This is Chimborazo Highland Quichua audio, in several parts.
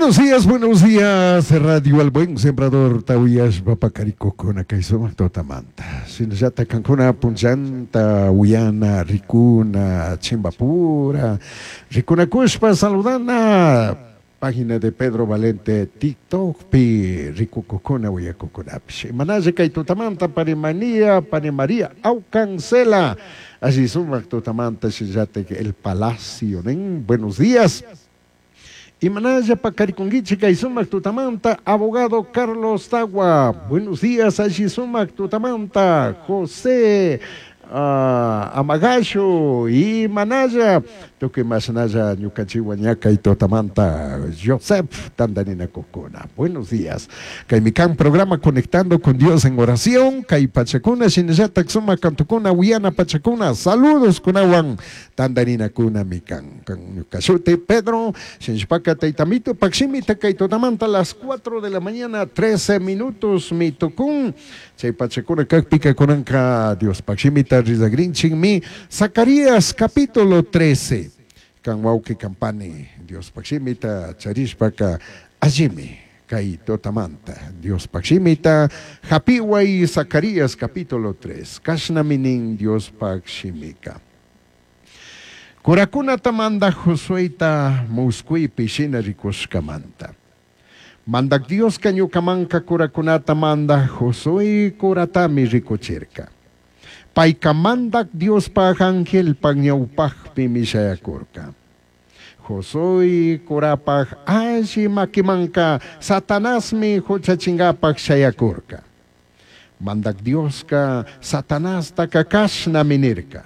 Buenos días, Radio El Buen Sembrador, Tawiyash Paparikukuna, kay sumak tutamanta. Shinallata kankuna punchanta, Uyana, Rikuna, Chimbapura, Rikunakushpa, saludana, página de Pedro Valente, TikTok, pi, Rikukukuna, Uyakukunapish. Imanalla kay tutamanta, Parimanía, Parimaría, Aucancela, allí sumak tutamanta, shinallata el Palacio, nen? Buenos días. Imanalla pakarikunkichik kay sumak tutamanta, abogado Carlos Tagua. Buenos días, allí sumak tutamanta, José Amagasho, Imanalla, tukuy mashnalla ñukanchikwan ña kay tutamanta, Joseph Tandanina Kukuna. Buenos días. Kaymi kan programa Conectando con Dios en Oración, kay pachakuna, shinallatak sumak kantukuna, uyana pachakuna, saludos kunawan, Tandanina kuna mi kan, kan ñukashuti Pedro, shinshpaka taytamito, pakshimita kay tutamanta, las 4 de la mañana, 13 minutos, mi tukun, chay pachakuna kakpika kunanka, Dios pakshimita rizagrinchik mi, Zacarías capítulo 13, kan wauki kampani, Dios pakshimita charishpaka, allimi, kay tutamanta, Dios pakshimita, hapiway Zacarías capítulo 3, kashnaminin Dios pakshimika. Kurakunata manda Josueta muskuipi shina rikushkamanta. Mandak Dios ñukamanka kurakunata manda Josué kuratami rikuchirka. Payka mandak Diospaj angelpaj ñawpajpi mishayakurka. Josué kurapaj alli makimanka Satanasmi huchachingapaj shayakurka. Mandak Dioska Satanastaka kashnami nirka.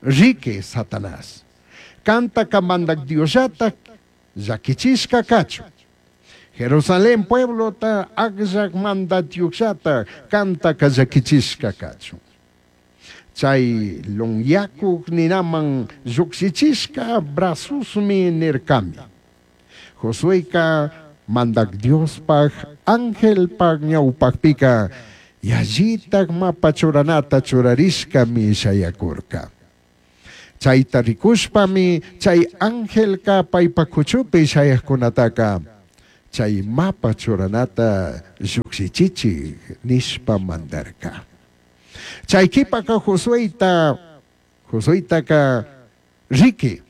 Riki Satanás. Kantaka mandak Diosllatak llakichishka kachun. Jerusalén pueblota akllak mandatyukllata kantaka llakichishka kachun. Chay lunyakuk ninaman llukshichishka brasusmi nirkami. Josueka mandak Diospaj angelpaj ñawpajpika yallitak mapa churanata churarishkami shayakurka. Chayta rikushpami chay angelka paypa kuchupi shayajkunataka chay mapa churanata llukshichichik nishpa mandarka. Chay kipaka Josuetaka riki,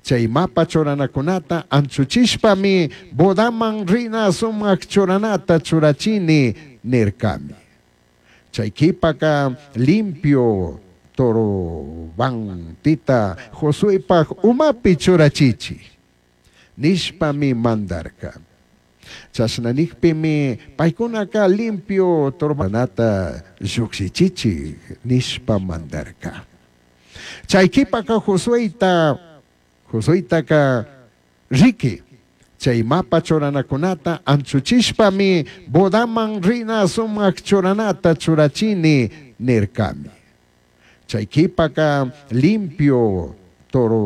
chay mapa churanakunata anchuchishpami bodaman rina sumak churanata churachini nirkami. Chay kipaka limpio turbantita Josuepaj umapi churachichi nishpami mandarka. Chashna nikpimi paykunaka limpio turbanata llukshichichi nishpa mandarka. Chay kipaka Josuetaka riki, chay mapa churanakunata anchuchishpami bodaman rina sumak churanata churachini nirkami. Chay kipaka limpio toro.